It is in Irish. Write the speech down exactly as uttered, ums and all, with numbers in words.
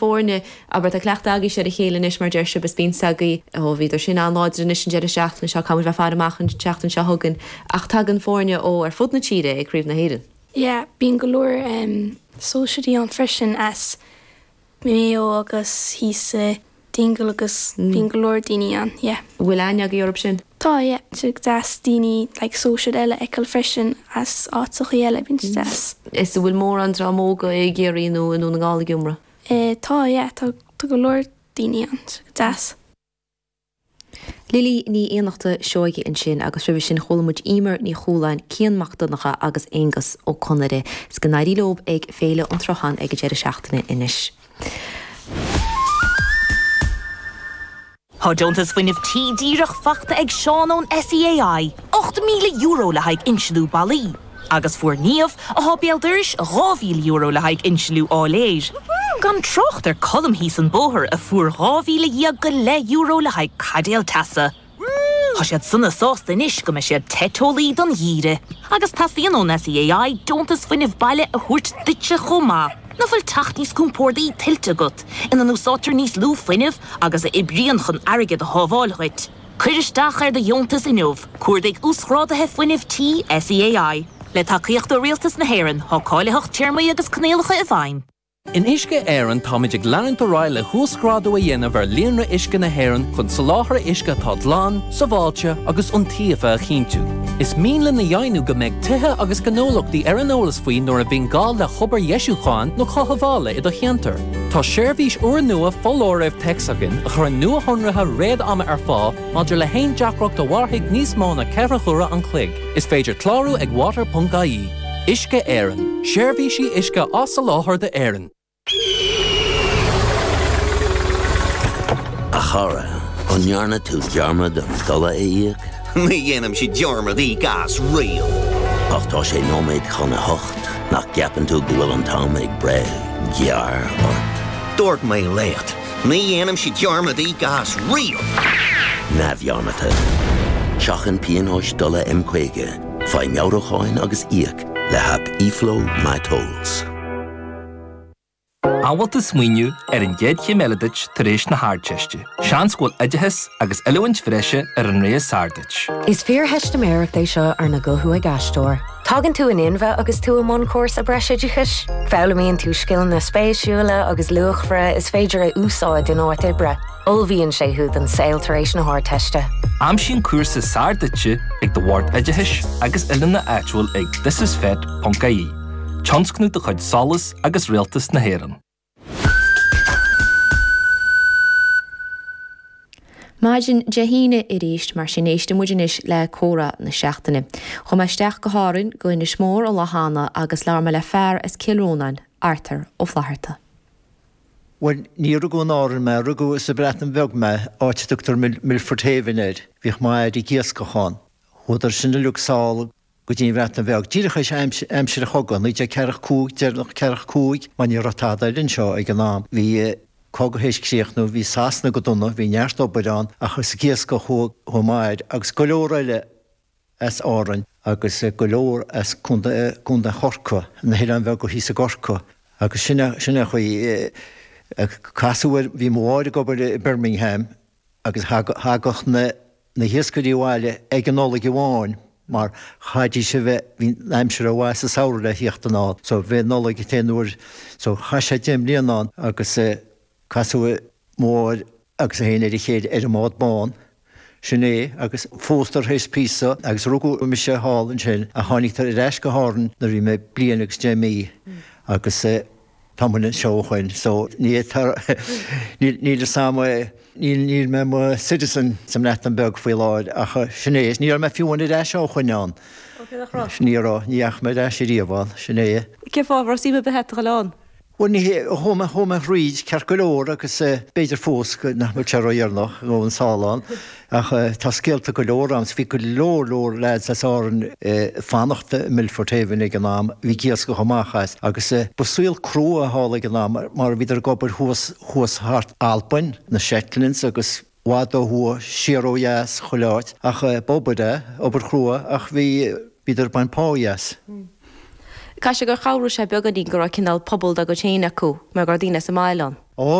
foirne, abair tá cleachtadh agaibhse ar a chéile anois mar deir sibh is bíonn agaibh ó bhíodar sin an-láidir anois an deireadh seachtaine seo caithfidh muid bheith ag faire amach an tseachtain seo chugainn ach tagann foirne ó ar fud na tíre ag Craobh na hÉireann. Yeah, bíonn go leor um, sóisearaí ann freisin as Maigh Eo agus thíos i Dingle agus mm. bíonn go leor daoine ann, yeah. Bhfuil aithne agaibh orthu sin? Tá yeah, sé deas daoine like, sóisir eile a fheiceáil freisin as áiteacha eile bíonn sé deas. Is bhfuil mórán dream óg i gCiarraí nó i nDún na nGall ag iomramh? Eh, tá yeah, tá tá go leor daoine ann, deas. Lilí Ní Fhiannachta Seoige ansin agus roimhe sin chuala muid Emer Ní Chualáin, Cian Mac Donncha agus Aonghus Ó Conaire. 'S go n-éirí leo ag Féile an Tsrutháin ag an deireadh seachtaine anois. Tá deontas fuinnimh tí díreach faighte ag Seán ón SEAI, ocht míle euro le haghaidh insliú ballaí. Agus fuair Niamh atá béal dorais dhá mhíle euro le haghaidh insliú áiléir. Gan trácht ar Colm thíos an bóthar a fuair dhá mhíle dhéag go leith euro le haghaidh caidéal teasa. Tá siad sona sásta anois go mbeidh siad te teolaí don gheimhreadh. Agus teastaíonn ón SEAI deontas fuinnimh baile a thabhairt duitse chomh maith. Nach bhfuil teach níos compordaí tuillte agat, ina n-úsáidtear níos lú fuinnimh agus a oibríonn chun airgead a shábháil dhuit. Cuir isteach ar do dheontas inniu, cuardaigh uasghráduithe fuinnimh tí SEAI. Le tacaíocht ó Rialtas na hÉireann, tá cáilitheacht téarmaí agus coinníollacha i bhfeidhm. In Uisce Éireann táimid ag leanúint ar aghaidh le huasghrádú a dhéanamh ar líonra uisce na hÉireann chun soláthar uisce atá glan, sábháilte agus iontaofa a chinntiú. Is mian linn a dheimhniú go mbeidh tithe agus gnólachtaí ar an eolas faoi nuair a bhíonn gá le hobair dheisiúcháin nó cothabhála i do cheantar. Tá seirbhís úrnua foláirimh téacs againn a chuireann nuashonruithe réad-ama ar fáil maidir le haon deacracht a mhairfidh níos mó ná ceithre huaire an chloig. Is féidir clárú ag water.ie. Uisce Éireann, seirbhísí uisce á soláthar d'Éirinn. A chara, an ndearna tú dearmad an dola a íoc? Ní dhéanaimse dearmad íoc as riamh. Ach tá sé nóiméad chun a hocht nach gceapann tú go bhfuil an t-am ag breith gearr ort. Dúirt mé leat, ní dhéanaimse dearmad íoc as riamh. Neamhdhearmadta. Seachain pionóis dola M caoga, faigh meabhrúcháin agus íoc le haip eFlow MyTolls. An bhfuil tú ag smaoineamh ar an gcéad chéim eile duit tar éis na hArdteiste. Seans go bhfuil oideachas agus oiliúint bhreise ar an rogha is fearr duit. Is fíortheistiméireacht é seo arna guthú ag aisteoir. Tagann tú in inmhe agus tú i mbun cúrsa breisoideachais, Foghlaimíonn tú scileanna spéisiúla agus luachmhara is féidir a úsáid in áit oibre. Ullmhaíonn sé thú don saol tar éis na hArdteiste. Aimsigh an cúrsa is fearr duitse ag do bhord oideachais agus oiliúna áitiúil ag thisisfet.ie. Tionscnamh de chuid SOLAS agus Rialtas na hÉireann. Maidin Dé hAoine arís mar sin éistfidh muid anois le comhrá na seachtaine. Chuaigh mé isteach go hÁrainn go Inis Mór an lá cheana agus labhair mé le fear as Cill Rónáin, Arthur Ó Flatharta. Bhuel ní rugadh in Árainn mé rugadh sa Bhreatain Bheag mé áit a dtugtar Milford Haven air, bhíodh m'athair ag iascach ann. Chuadar sin uilig sall go dtí an Bhreatain Bheag. Díreach théis aimsir an chogaidh, naoi déag ceathracha cúig, deireanach ceathracha cúig, mar ní raibh tada eile anseo ag an am. Bhí cogadh théis críochnú, bhí Sasana go dona, bhí neart obair ann ach is ag iascach a chuaigh m'athair agus go leor eile as Árainn agus go leor as Contae Chorcaí, na hoileáin bheaga thíos i gCorcaigh. Agus sin sin é an chaoi casadh air, bhí mo mháthair ag obair i Birmingham agus thagadh na na hiascairí abhaile ag an Nollaig amháin mar chaithfidís a bheith, bhí an aimsir rómhaith sa samhradh le thíocht anall. So bhí an Nollaig an t-aon uair, so chaith sé deich mbliana ann agus casadh mo mháthair agus é féin ar a chéile ar an mbád bán. Sin é agus phósadar théis píosa agus rugadh mise thall ansin ach tháinig ar ais go hÁrainn nuair a bhí mé bliain agus deich mí agus tá mé anseo ó shin so ní níl níl fhios a'm níl níl mé mo citizen sa mBreatain Bheag faoi láthair ach sin é ní raibh mé fiú amháin ar ais ó shin ann. Ní raibh ní dheachaigh mé ar ais ariamh ann sin é. Cén fáth raibh suim ar bith agat a dhul ann? Bhuel ní hé, chuaigh mé chuaigh mé thríd ceart go leor agus b'fhéidir fós go nach mbeadh sé ródheireanach a ghabháil sall ann ach tá scéalta go leor ann. Bhí go leor leor lads as Árainn ag fanacht i Milford Haven ag an am, bhí ag iascach amach as agus ba saol crua thall ag an am mar bhíodar ag obair thuas thuas thart Albain, na Shetlands agus i bhfad ó thuaidh, siar ó dheas, chuile áit ach b'obair é, obair chrua ach bhí bhíodar ag baint pá as. Caithfidh sé gur chabhraigh sé beagáinín go raibh cineál pobal dá gcuid féin acu mar go raibh daoine sa mbaile ann. Ó